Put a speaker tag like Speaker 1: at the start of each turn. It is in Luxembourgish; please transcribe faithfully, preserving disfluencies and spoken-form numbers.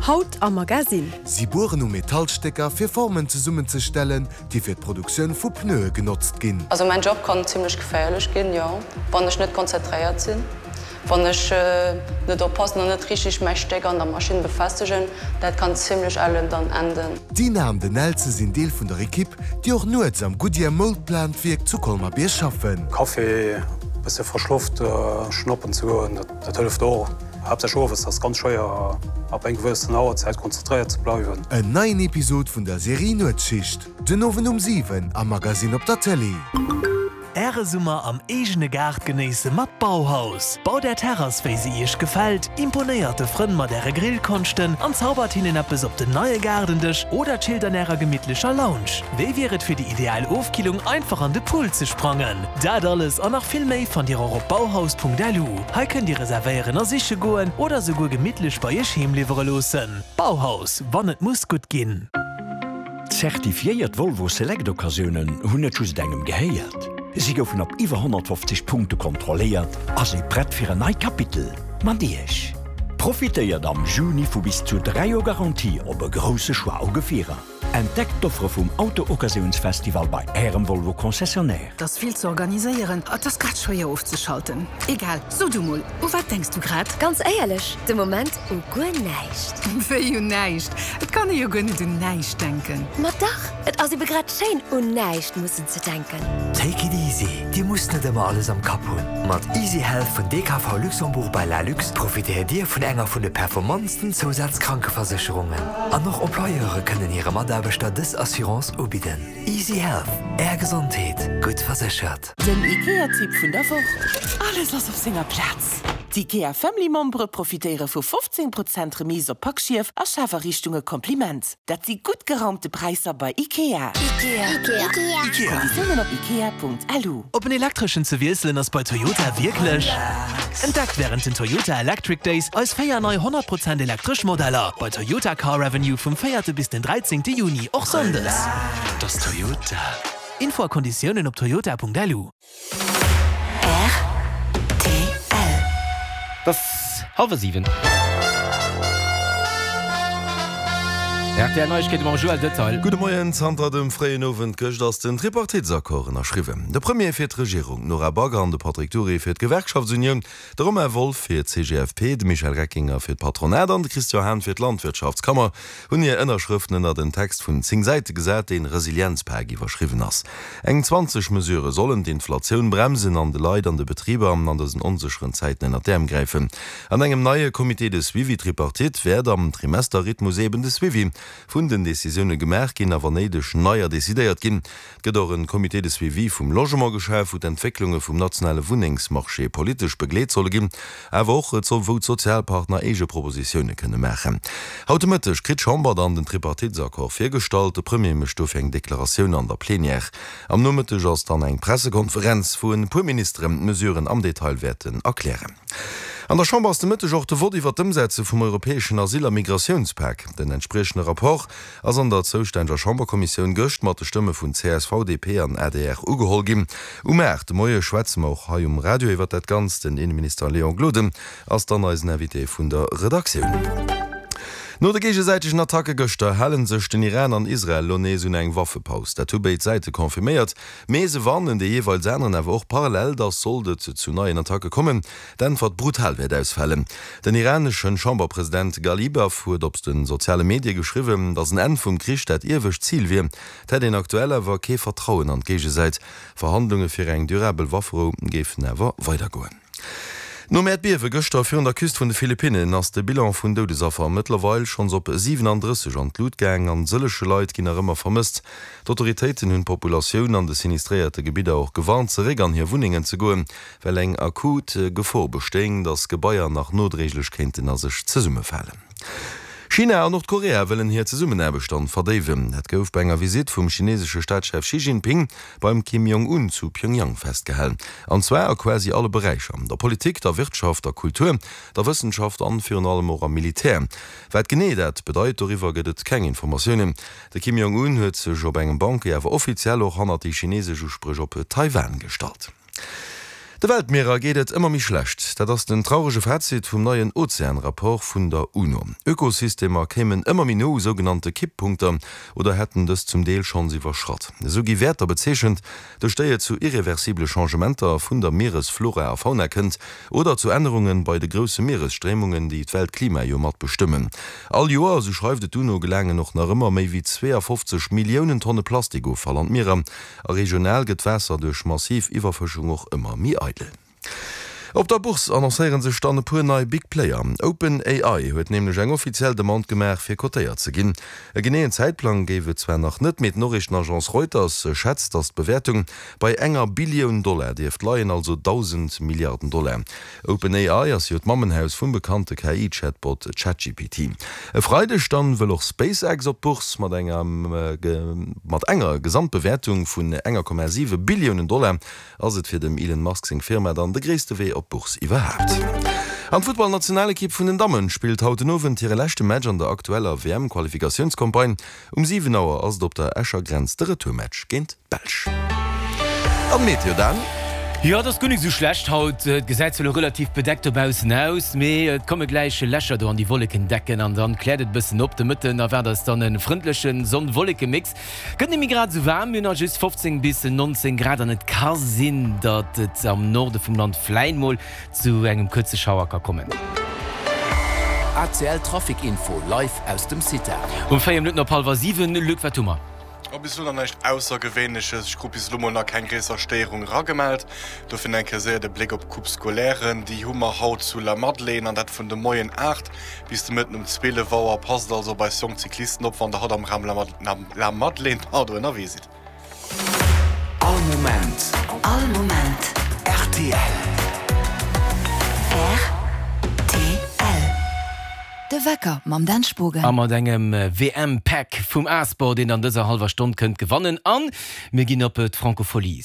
Speaker 1: Haut am Magasinn.
Speaker 2: Si bueren u Metallstécker, fir Formen zesummenzestellen, déi fir d'Produktioun vu Pneue genotzt ginn.
Speaker 3: Also mäin Job kann zimlech geféierlech ginn, jo, wann ech net konzentréiert sinn, wann ech net oppassen an net richteg mäi Stéck an der Maschinn befestegen, dat kann zimlech ellen dann enden.
Speaker 2: D'Dina an den Nelze sinn Deel vun der Ekipp, déi och nuets am Goodyear Mold Plant Wierk zu Colmer-Bierg schaffen.
Speaker 4: Café, bësse frësch Loft schnappen ze goen, dat hëlleft och. Haaptsächlech owes ass ganz schwéier ab eng gewëssen Auerzäit konzentréiert ze bleiwen.
Speaker 2: En neien Episod vun der Serie Nuetsschicht, den Owend um siwen am Magasinn op der Tëlee.
Speaker 5: Äre Summer am eegene Gaart genéisse mat Bauhaus. Baut Är Terrass wéi se Iech gefält, imponéiert de Frënn mat Äre Grillkonschten an zaubert hinnen eppes op den neie Gaardendësch oder chillt an Ärer gemittlecher Lounge. Wéi wier et fir déi ideal Ofkillung einfach an de Pool ze sprangen? Dat alles an nach vill méi fannt Dir och op bauhaus.lu. Hei kënnt Dir reservéieren a siche goen oder souguer gemittlech bei Iech heem liwwere loossen. Bauhaus, wann et muss gutt ginn.
Speaker 6: Zertifiéiert Volvo Select Occasiounen hunn net just engem gehéiert. Si goufen op iwwer honnertfofzeg Punkte kontrolléiert a si prett fir en neit Kapitel mat Iech. Profitéiert am Juni vu bis zu dräi Joer Garantie op e grousse Choix u Gefierer. Entdeckt d'Offere vum Auto-Occasiounsfestival bei Ärem Volvo Concessionnaire.
Speaker 7: 't ass vill ze organiséieren, et ass grad schwéier ofzeschalten. Egal, so du mol, u wat denks du grad?
Speaker 8: Ganz éierlech, de Moment u guer näischt.
Speaker 7: Wéi un näischt? Et kann ee jo guer net un näischt denken.
Speaker 8: Ma dach, et ass ebe grad schéin, un näischt mussen ze denken.
Speaker 9: Take it easy, Dir musst net ëmmer alles am Kapp hunn. Mat Easy Health vun D K V Luxembourg by Lalux profitéiert Dir vun enger vun de performantsten Zousazkrankeversécherungen. An och Employeure kënnen hire Mataarbechter dës Assurance ubidden. Easy Health, Är Gesondheet, gutt verséchert.
Speaker 10: Den IKEA-Tipp vun der Woch, Alles ass op senger Plaz! D'IKEA Family Membere profitéiere vu fofzéng Prozent Remise op Packschief a Schafariichtunge Kompliment. Dat si gutt geraumte Präisser bei IKEA.
Speaker 8: Ikea. Ikea.
Speaker 5: Ikea.
Speaker 10: Konditiounen op ikea.lu.
Speaker 5: Op en elektreschen ze wiesselen ass bei Toyota wierklech. Entdeckt wärend den Toyota Electric Days eis véier nei honnert Prozent elektresch Modeller bei Toyota Car Avenue vum véierte bis den dräizéngte Juni, och sonndes. Dat ass Toyota. Info a Konditiounen op toyota.lu.
Speaker 10: Rtl.
Speaker 11: Et ass hallwer siwen. R T L Neiegkeete mam Joël Detail.
Speaker 12: Gudde Moien. Zanter dem fréien Owend gëscht ass den Tripartitesaccord ënnerschriwwen. De Premier fir d'Regierung, d'Nora Back an de Patrick Dury fir d'Gewerkschaftsunioun, de Romain Wolff fir d'C G F P, de Michel Reckinger fir d'Patronat an de Christian Hahn fir d'Landwirtschaftskammer hunn hir Ënnerschrëften ënner den Text vun zéng Säite gesat, deen Resilienzpak iwwerschriwwen ass. Eng zwanzeg Mesurë sollen d'Inflatioun bremsen an de Leit an de Betriber an dësen onsécheren Zäiten ënner d'Äerm gräifen. An engem neie Comité de suivi tripartite wäert am Trimesterrhythmus eben de Suivi vun den Decisioune gemaach ginn a wann néideg neier decidéiert ginn. Et gëtt och en Comité de suivi vum Logement geschaf, wou d'Entwécklunge vum nationale Wunnengsmarché politesch begleet solle ginn, awer och wou d'Sozialpartner eege Propositioune kënne maachen. Haut de Mëtteg kritt d'Chamber dann den Tripartitesaccord virgestallt. De Premier mécht dofir eng Deklaratioun an der Plenière. Am Nomëtteg ass dann eng Pressekonferenz, wou e puer Ministeren d'Mesuren am Detail wäerten erklären. An der Chamber ass de Mëtteg och de Vott iwwer d'Ëmsetze vum europäeschen Asyl a Migratiounspak. Den entspriechende Rapport ass an der zoustänneger Chamberkommissioun gëscht mat de Stëmme vun C S V, D P an A D R ugeholl ginn. Um aacht de Moie schwätze mer och hei um Radio iwwer dat Ganzt. Den Inneminister Léon Gloden ass dann eisen Invité vun der Redaktioun. No de géigesäitegen Attacke gëschter hale sech den Iran an Israel elo nees un eng Waffepaus. Dat hu béid Säite confirméiert. Mee se warnen dee jeeweils aneren awer och parallel, datt sollt et zu neien Attacke kommen, d'Äntwert brutal wäert ausfalen. Den iraneschen Chamberpresident Ghalibaf huet op de soziale Medie geschriwwen, datt en Enn vum Krich dat iewescht Zil wier. Et hätt een aktuell awer kee Vertrauen an d'Géigesäit. Verhandlunge fir eng durabel Wafferou géifen awer weidergoen. Nom Äerdbiewe gëschter virun der Küst vun de Philippinnen ass de Bilan vun Doudesaffer mëttlerweil schonns op siwenandrësseg an d'Lut gaang an sëllege Leit ginn nach ëmmer vermësst. D'Autoritéiten hunn d'Populatioun an de sinistréierte Gebidder och gewarnt, zeréck an hir Wunnengen ze goen, well eng akut Gefor bestéing, datt Gebaier nach nodréiglech kéinten a sech zesummefalen. China an Nordkorea wëllen hir Zesummenaarbecht dann verdéiwen. Dat gouf bei enger Visitt vum chinesesche Staatschef Xi Jinping beim Kim Jong-un zu Pyongyang festgehalen. An zwar a quasi alle Beräicher, der Politik, der Wirtschaft, der Kultur, der Wëssenschaft an virun allem och am Militär. Wat genee dat bedeit, doriwwer gëtt et keng Informatiounen. De Kim Jong-un huet sech op engem Banquet awer offiziell och hannert déi chinesesch Uspréch op Taiwan gestallt. De Weltmierer geet et ëmmer méi schlecht. Zäit, dat ass den traurege Fazit vum neien Ozean-Rapport vun der UNO. Ökosystemer kéimen ëmmer méi no u sougenannte Kipppunkter oder hätten dës zum Deel schonns iwwerschratt. Esou gi Wäerter bezeechent, duerch déi et zu irreversible Changementer vun der Mieresflora a fauna kënnt oder zu Ännerunge bei de grousse Mieresstréimungen, déi d'Weltklima jo mat bestëmmen. All Joer, esou schreift et d'UNO, gelaangen och nach ëmmer méi wéi zweeafofzeg Milliounen Tonne Plastikoffall an d'Mierer a regional gëtt d'Waasser duerch massiv Iwwerfëschung och ëmmer méi eidel. Op der Bourse annoncéiere sech dann e puer nei Big Player. OpenAI huet nämlech eng offiziell Demande gemaach, fir cotéiert ze ginn. E geneeën Zäitplang géif et zwar nach net, mee d'Noriichtenagence Reuters schätzt, datt d'Bewäertung bei enger Billioun Dollar dierft leien, also dausend Milliarden Dollar. OpenAI ass jo d'Mammenhaus vum bekannte K I-Chatbot ChatGPT. E Freideg dann wëll och SpaceX op d'Bourse mat enger mat enger Gesamtbewäertung vun enger Komma siwe Billiounen Dollar ass et fir dem Elon Musk seng Firma dann de gréisste Wee op d'Bourse iwwerhaapt. An d'Futtballnationalekipp vun den Dammen spillt haut den Owend hire leschte Match an der aktueller W M-Qualifikatiounscampagne. Um siwen Auer ass et op der Escher Grenz de Retourmatch géint d'Belsch. An d'Meteo dann?
Speaker 11: Jo, et ass guer nik esou schlecht haut. Et gesäit zwar elo relativ bedeckt dobaussen aus, mee et komme gläich Lächer do an déi Wolleken decken an dann kläert et e bëssen op. De Mëtten erwaart eis dann e frëndleche Sonn-Wolleke-Mix. Gëtt net méi grad esou waarm, mir hunn haut just fofzéng bis nonzéng Grad an et ka sinn, datt et am Norde vum Land vläit mol zu engem kuerze Schauer ka kommen.
Speaker 1: A C L Trafic Info live aus dem CITA.
Speaker 11: Um véier Minutten op hallwer siwen, Luc, wat hu mer?
Speaker 13: Oh, bis elo nach näischt Aussergewéinleches. Ech krut bis elo mol nach keng gréisser Stéierung eragemellt. Dofir eng Kéier séier de Bléck op d'Coupe scolaire. Déi hu mer haut zu Lamadelaine, an dat vun de Moien aacht bis de Mëtten um zwielef Auer. Passt also op eis jonk Cyclisten op, wann der haut am Raum Lamadelaine, pardon, ënnerwee sidd.
Speaker 1: All Moment.
Speaker 14: All Moment.
Speaker 1: R T L.
Speaker 14: R T L. De Wecker mam Dan Spogen.
Speaker 11: A mat engem W M-Pack vum A-Sport, deen an dëser hallwer Stonn kënnt gewannen. An mir ginn op d'Francofolies.